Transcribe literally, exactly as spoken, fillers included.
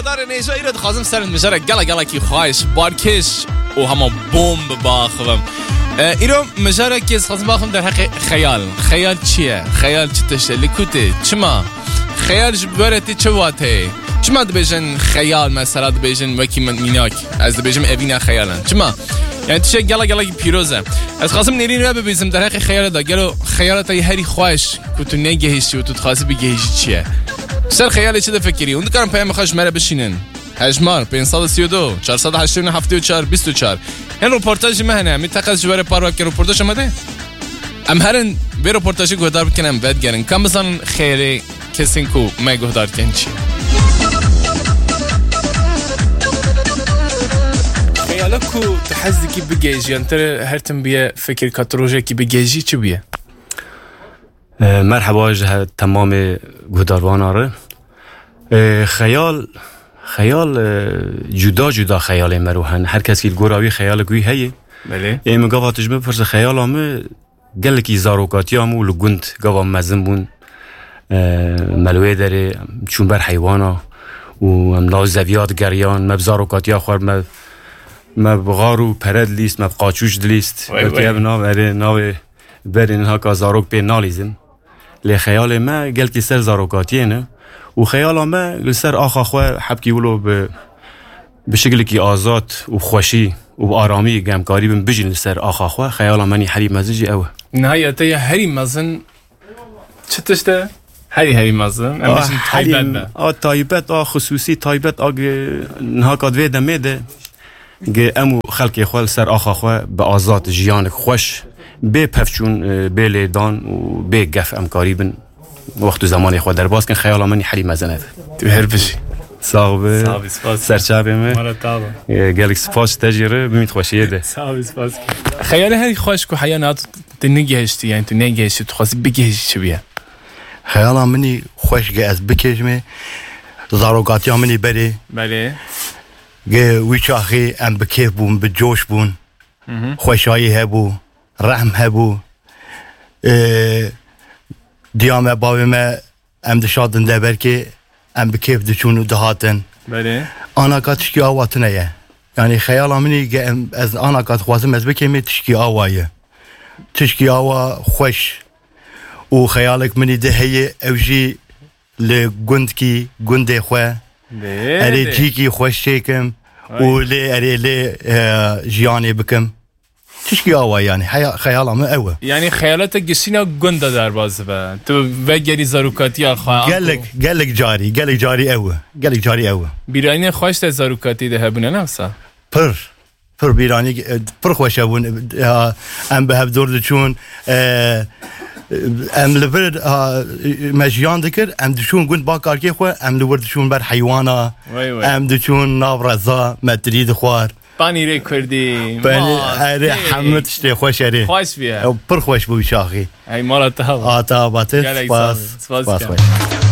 Darê nêja îro dixwazim ser mijara gela gelekî xweş, barkêş û hema bomb biaxivim. E, îro mijarekê ez dixwazim biaxivim derheqê xeyal. Xeyal çi ye? Xeyal çi tişt e? Li ku tê? Çima? Xeyal ji were tê çi wateyê? Çima dibêjin xeyal, mesela dibêjin wekî min mînak? Ez dibêjim evîna xeyalan. Çima? Yani tiştek gela gelekî pîroz e. Ez dixwazim nêrîn we bibîzim derheqê xeyalê de. Gelo xeyala te yê herî xweş ku tu negihîştî û tu dixwazî bigihîşî çi ye? Ser xeyalê çi difikirî? Hûn dikarin peyamê xwe ji me re bişînin. Hejmar, pênc sed û sî û du, çar sed û heştê û neh, heftê û çar, bîst û çar. Hin roportajî me hene, em ê teqez ji we re parve bikin. Roportaja me de. Em herin vê roportajê guhdar bikin, em vedigerin. Ka em bizanin xêrê kesên ku me guhdar dikin çi ye. Xeyala ku tu hez dikî bigihîjî, yan te her tim bûye fikir ka tu rojekî bigihîjî, çi bûye? E, merheba ji he-, temamê guhdarvana re. E, xeyal, xeyal, e, cuda cuda xeyalê mero hene. Her kes li gora wî xeyalek wî heye. Belê. Ê min gava tu ji min bipirse xeyala min gelekî zarokatiya min û li gund gava mezin bûn. E, me li wê derê çûn ber heywana û em nav zeviya digeriyan. Me bi zarokatiya xwe me, me bi xar û pere dilîst, me bi qaçûç dilîst. Wey, Belkî wey. Ev nav erê navê berê niha ka zarok pê nalîzin. Lê xeyalê me gelkî ser zarokatiyê ne û xeyala me li ser axa xwe hebkî wilo bi, bi şikilekî azad û xweşî û bi aramî gemkarî bin bijîn li ser axa xwe. Xeyala me nî herî mezin jî ew e. Niha ya te ya herî mezin çi tişt e? Herî herî mezin. Em A bêjin herî, taybet be. A taybet, a xisûsî taybet, a gi-, niha ka di vê demê de gi em û xelkê xwe li ser axa xwe bi azad jiyanek xweş, bê pevçûn, e, bê lêdan û bê gef em karî bin wext û zemanê xwe derbas kin. Xeyala min herî mezin ev. Tu her bijî. Sax bi. Sax bî, spas. Serçavê me. Mala te ava. E, gelek spas te jî re, bimît xweşiyê de. Sax bî, spas. Xeyalê herî xweş ku heya niha tu negihiştî, yani tu negihiştî, tu xwestî bigihişî çi bûye? Xeyala min î xweş ge ez bikêjimê, zarokatiya min î berê. Belê. Ge wî çaxê em bi kêf bûn, bi coş bûn. Hı hı. Xweşayî hebû, rehm hebû. Ee, diya me, bavê me, em dişatin deverkê, em bi kêf diçûn û dihatin. Belê. Anaka tişkî awa tune ye. Yani xeyala min î ge em, ez anaka dixwazim ez bikêmê tişkî awa ye. Tişkî awa xweş. Û xeyalek min î de heye, ew jî li gundkî, gundê xwe, Lê, erê lê. cîkî xweş çêkim Ay. û lê erê lê, e, jiyanê bikim. Tişkî awa yani, heya-, xeyala min ew e. Yani xeyala te gişîna gund de derbas dibe. Tu vegerî zarokatiya xwe, anku Gelek, gelek carî, gelek carî ew e. Gelek carî ew e. Bîranînên xweş te zarokatî de hebûne, ne wisa? Pir. Pir bîranî, e, pir xweş hebûn. E, ha, em bi hev dor diçûn, e, em li vir, ha, me jiyan dikir, em diçûn gund ba karkê xwe, em li wir diçûn ber heywana, Wey, wey. em diçûn nav reza, me tirî dixwar. Panîrê kurdî, Panî-, mas, erê, tê. hemû tiştê xweş erê. Xweş bûye. Ew pir xweş bû wî çaxî. Hey, mala te hava. A te hava batir, Gelek spas. sağ ol, spas Spas dikim. xweş.